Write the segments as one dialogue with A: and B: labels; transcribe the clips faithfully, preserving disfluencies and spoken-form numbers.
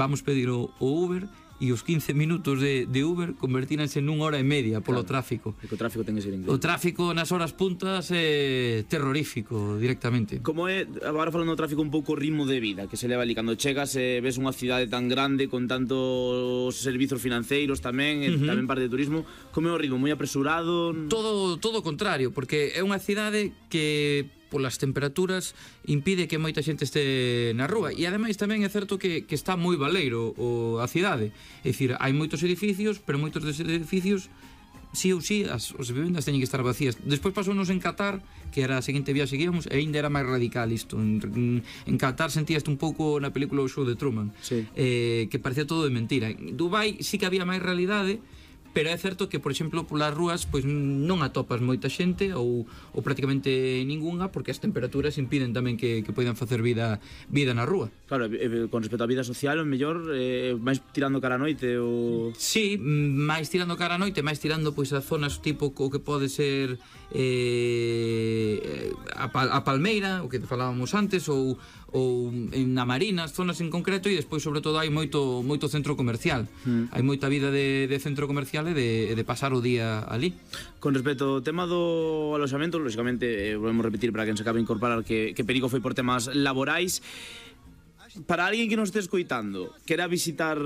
A: vamos pedir o, o Uber e os quince minutos de, de Uber convertíranse nun hora e media polo
B: Claro.
A: tráfico.
B: E que o tráfico ten que ser increíble.
A: O tráfico nas horas puntas é terrorífico directamente.
B: Como é, agora falando do tráfico, un pouco o ritmo de vida que se leva ali cando chegas e ves unha cidade tan grande con tantos servizos financeiros tamén, e
A: Uh-huh.
B: tamén parte de turismo, como é o ritmo? Moi apresurado?
A: Todo todo o contrario, porque é unha cidade que polas temperaturas impide que moita xente este na rúa e ademais tamén é certo que, que está moi baleiro o, a cidade, é dicir, hai moitos edificios, pero moitos deses edificios sí ou sí, as, as vivendas teñen que estar vacías. Despois pasounos en Qatar, que era a seguinte viaxe que íamos, e ainda era máis radical isto. En, en, en Qatar sentíaste un pouco na película O Show de Truman,
B: Sí.
A: eh, que parecía todo de mentira. En Dubai sí que había máis realidade, pero é certo que, por exemplo, polas rúas pois non atopas moita xente ou, ou prácticamente ningunha, porque as temperaturas impiden tamén que, que poidan facer vida vida na rúa.
B: Claro, e, e, con respecto á vida social, o mellor eh, máis tirando cara a noite ou...
A: Sí, máis tirando cara a noite, máis tirando pois a zonas tipo o que pode ser eh, a, Pal a Palmeira, o que falábamos antes, ou, ou en na Marina, zonas en concreto, e despois sobre todo hai moito moito centro comercial. Mm. Hai moita vida de, de centro comercial e de, de pasar o día ali.
B: Con respecto ao tema do aloxamento, lógicamente, eh, volvemos a repetir para quen se acabe de incorporar que, que perigo foi por temas laborais. Para alguén que nos este escoitando, quera visitar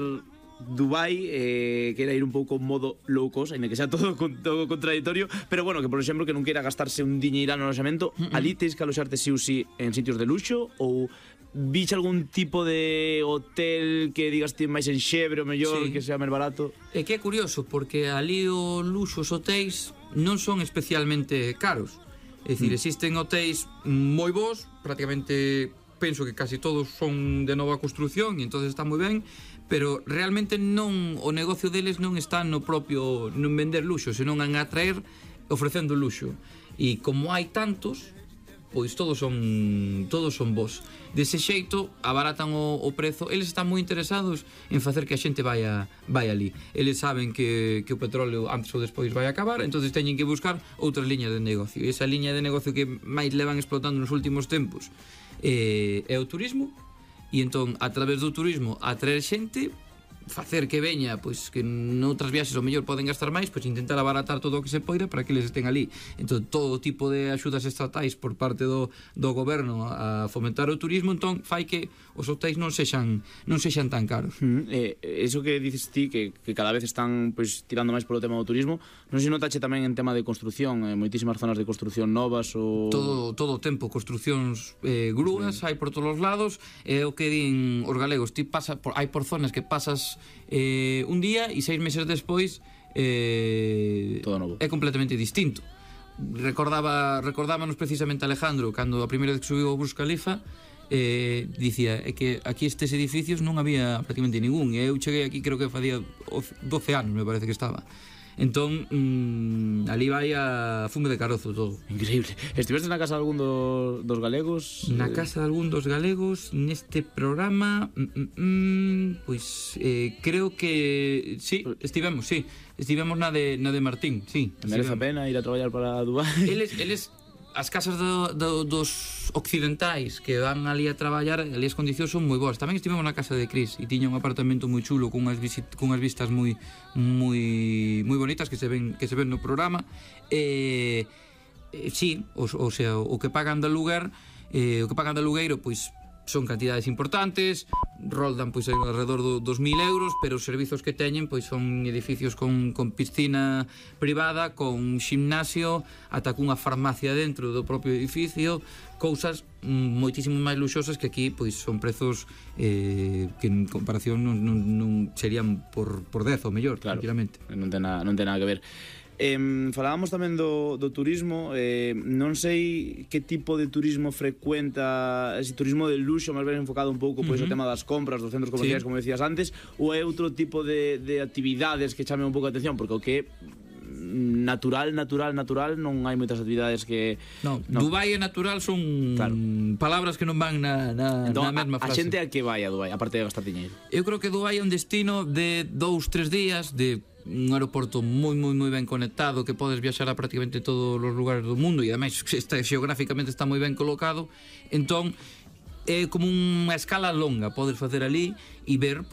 B: Dubai, eh, quera ir un pouco modo low cost, ainda que sea todo, todo contradictorio, pero bueno, que por exemplo que non queira gastarse un diñeirán no aloxamento, mm -mm. ali tens que aloxarte sí ou sí en sitios de luxo, ou viche algún tipo de hotel que digas ti máis en xebre o mellor, sí, que sea máis barato?
A: É que é curioso, porque ali o luxo, os hotéis non son especialmente caros. É dicir, mm. existen hotéis moi bons, prácticamente penso que casi todos son de nova construción e entonces está moi ben, pero realmente non, o negocio deles non está no propio, non vender luxo, senón en atraer ofrecendo luxo. E como hai tantos, pois todos son todos son bons. Dese xeito abaratan o, o prezo. Eles están moi interesados en facer que a xente vaya vai ali. Eles saben que, que o petróleo antes ou despois vai acabar, entonces teñen que buscar outras liñas de negocio. E esa liña de negocio que máis levan explotando nos últimos tempos eh, é o turismo, e entón a través do turismo atraer xente, facer que veña, pois que noutras viaxes ao mellor poden gastar máis, pois intentar abaratar todo o que se poida para que eles estén ali. Entón todo tipo de axudas estatais por parte do, do goberno a fomentar o turismo, entón fai que os hotéis non sexan non sexan tan caros.
B: Mm, eh, eso que dices ti, que, que cada vez están pois tirando máis polo tema do turismo, non sei se notache tamén en tema de construción, eh, moitísimas zonas de construción novas ou...
A: Todo, todo o tempo, construcións eh, grúas, sí, hai por todos os lados, é o que din os galegos, ti pasa por, hai por zonas que pasas eh, un día e seis meses despois eh,
B: todo novo.
A: É completamente distinto. Recordaba, recordábanos precisamente Alejandro cando a primeira vez que subiu ao Burj Khalifa, eh, dicía é que aquí estes edificios non había prácticamente ningún, e eu cheguei aquí creo que facía doce anos, me parece que estaba. Entón, mmm, ali vai a fume de carozo todo.
B: Increíble. Estiveste na casa de algún do, dos galegos?
A: Na casa de algún dos galegos neste programa, mm, mm, mm, pois eh, creo que sí, estivemos, sí. Estivemos na de, na de Martín, sí.
B: Merece a pena ir a traballar para Dubai?
A: Eles, eles as casas do, do, dos occidentais que van ali a traballar, ali as condicións son moi boas. Tamén estivemos na casa de Cris e tiña un apartamento moi chulo cunhas, visit, cunhas vistas moi moi moi bonitas que se ven que se ven no programa. Eh, eh, sí, o, o sea, o que pagan de aluguer, eh, o que pagan de alugueiro, pois son cantidades importantes, roldan pois alrededor do, dos mil euros, pero os servizos que teñen pois son edificios con, con piscina privada, con ximnasio, ata cunha farmacia dentro do propio edificio, cousas moitísimo máis luxosas que aquí pois son prezos eh, que en comparación non, non, non serían por, por dez ou mellor,
B: claro,
A: tranquilamente.
B: Non ten, na, non ten nada que ver. Eh, falábamos tamén do, do turismo, eh, non sei que tipo de turismo frecuenta, ese turismo de luxo máis ben enfocado un pouco pois, uh -huh. o tema das compras, dos centros comerciais, sí, como decías antes, ou é outro tipo de, de actividades que chamen un pouco a atención, porque o que natural, natural, natural non hai moitas actividades que...
A: No, no. Dubai e natural son, claro, palabras que non van na, na,
B: entón,
A: na mesma frase.
B: A xente a que vai a Dubai, aparte de gastar diñeiro?
A: Eu creo que Dubai é un destino de dous, tres días, de un aeroporto moi, moi, moi ben conectado, que podes viaxar a prácticamente todos os lugares do mundo e ademais está, xeográficamente está moi ben colocado, entón é como unha escala longa, podes facer ali e ver pois